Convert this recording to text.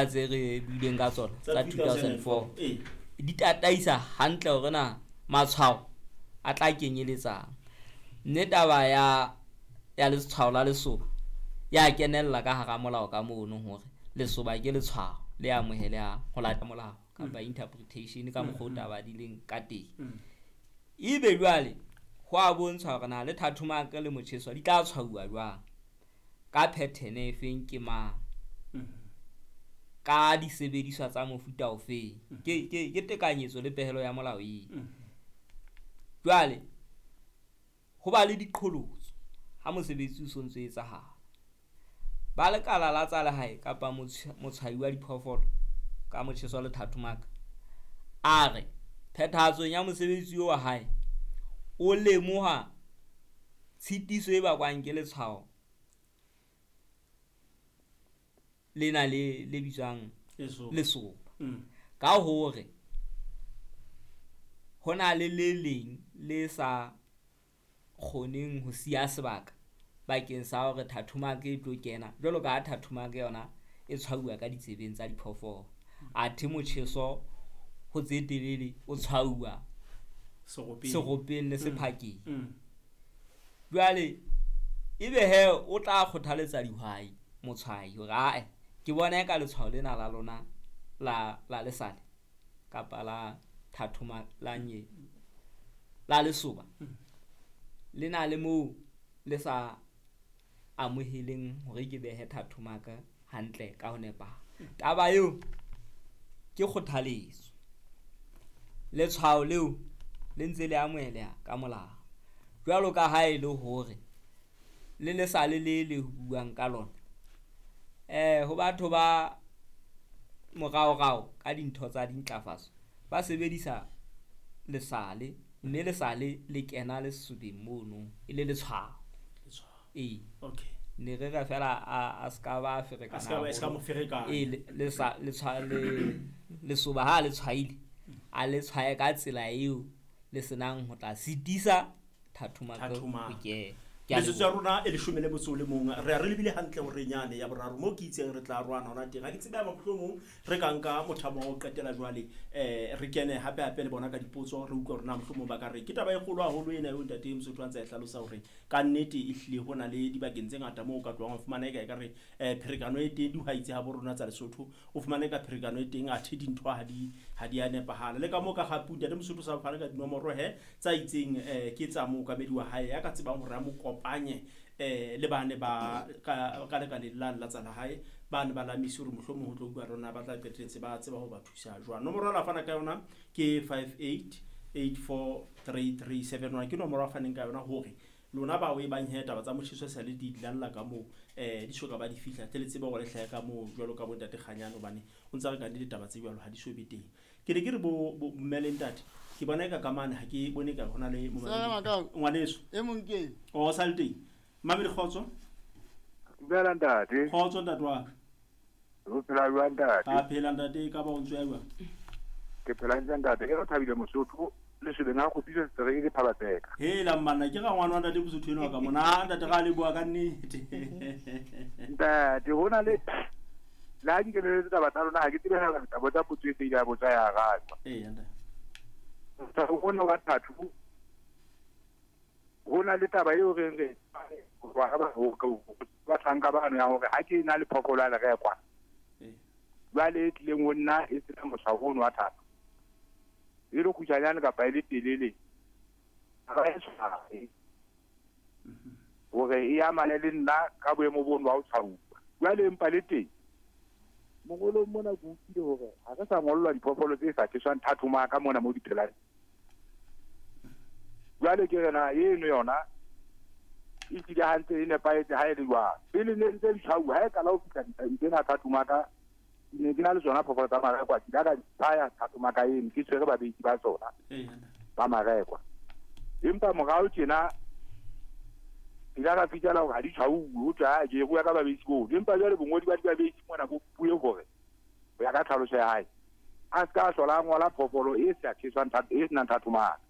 Tse re buileng ka tsona tsa 2004 di tataisa hantle hore na matshwao a tla kenyeletsang. Mme taba ya letshwao la lesoba ya kenella ka hara molao ka mono, hore lesoba ke letshwao le amohelehang ho latela molao kapa interpretation ka mokgwa o taba di leng ka teng. Ebe jwale ho a bontshwa hore na le thathomaka le motjheso di tla tshwauwa jwang, ka pattern e feng, ke mang, ka disebediswa tsa mofuta ofeng. Ke tekanyetso le pehelo ya molao eo. Jwale ho ba le diqholotso ha mosebetsi o sontso etsahala. Ba lekala la tsa lehae kapa motshwai wa diphoofolo ka motjheso le thathomaka a re phethahatsong ya mosebetsi wa hae o lemoha tshitiso e bakwang ke letshwao lena le bitswang lesoba, ka hore ho na le le leng le sa kgoneng ho siya sebaka bakeng sa hore thathomaka e tlo kena, jwalo ka ha thathomaka yona e tshwauwa ka ditsebeng tsa diphoofolo, athe motjheso ho tse telele o tshwauwa seropeng le sephakeng. Jwale ebe he o tla kgothaletsa dihwai motshwai hore ae ke bona eka letshwao lena la lona la lesale kapa la thathoma la nye la lesoba le na le moo le sa amoheleng hore ke behe thathomaka hantle ka ho nepahala. Taba eo ke kgothaletso. Letshwao leo le ntse le amoheleha ka molao, jwalo ka ha e le hore le lesale le le buang ka lona ho batho ba moraorao ka dintho tsa dintlafatso ba sebedisa lesale, mme lesale le kena lesobeng mono e le letshwao. Ee, okay, ne re re fela a ska ba ferekana, a ska mo ferekana. Ee, lesoba ha le tshwaile a le tshwaye ka tsela eo le senang ho tla sitisa thathomaka ho kena. Metsotso ya rona e 11, re a re lebile hantle hore nyane ya boraro moo ke itseng re tla rwana hona teng. Ha ke tsebe mohlomong re ka nka mothamo wa ho qetela jwale, re kene hape hape le bona ka dipotso, re utlwe hore na mohlomong ba ka re ke taba e kgolo haholo ena eo ntate Mosotho a ntse a e hlalosa hore ka nnete ehlile ho na le dibakeng tse ngata moo o ka tlohang ho fumana eka ekare pherekano e teng dihwai tse habo rona tsa Lesotho, o fumane ka pherekano e teng athe dintho ha di a nepahala. Le ka moo ka gape ntate Mosotho sa fana ka dinomoro he tsa itseng ke tsa mookamedi wa hae ya ka tsebang hore a mo kopanye le bane ba ka lekaleng la tsa lehae, bane ba lamisi hore mohlomong ho tlo bua rona ba tla qetelletse ba tseba ho ba thusa jwang. Nomoro a fana ka yona ke 58843371, ke nomoro a faneng ka yona hore lona bao e bang he taba tsa motjheso sa le di lalla ka moo di soka ba di fihla tle le tsebe hore le hlahe ka moo jwalo ka bo ntate Kganyane, hobane o ntsa re ka le ditaba tse jwalo ha di so be teng. Ke ne ke re bo mme le ntate ke bona eka ka mane ha ke bone ka hona le ngwaneso e mong ke o sa le teng. Mamedi kgotso. Dumela ntate. Kgotso ntate wa ka. O phela jwang ntate? A phela ntate, ka ba o ntse ya jwang? Ke phela ntse ntate, ke re Thabile Mosotho lesobeng ha kgopisa setereke ke Phabatseka. Hela mmanna ke ga ngwana wa ntate Mosotho enwa ka mona, ntate ga le bua ka nnete. Ntate hona le le ha ke keneletse taba tsa lona ha ke tsebe hela taba tsa potso e se ile ya botsa ya arajwa. Ee ntate. Ona wa thathu ho na le taba eo re re bahlanka bano ya hore ha ke na le phoofolo ya lerekwa jwale e tlileng ho nna e sena motshwao ono wa thathu, e le kgutshwanyane kapa e le telele, ga e tshwae hore e amane le nna ka boemo bono ba ho tshwauwa. Jwale empa le teng mongolong mona ke utlwile hore ha re sa ngollwa diphoofolo tse sa tjheswang thathomaka mona mo di phelang. Jwale ke re na eno yona e tlile hantle e nepahetse ha e le jwang. Pele ne ntse di tshwauwa ha e qala ho fihla tsena thathomaka, ne ke na le tsona phoofolo tsa marekwa, ke ile ka di tshwaya thathomaka eno, ke tshwere babedi ba tsona ba marekwa. Empa morao tjena ke ile ka fihlela hore ha di tshwauwe, ho thwe ha ke rua ka babedi boo. Empa jwale bongodi ba dibabedi mona bo bue hore ho ya ka tlhaloso ya hae a se ka hlola a ngola phoofolo e sa tjheswang e senang thathomaka.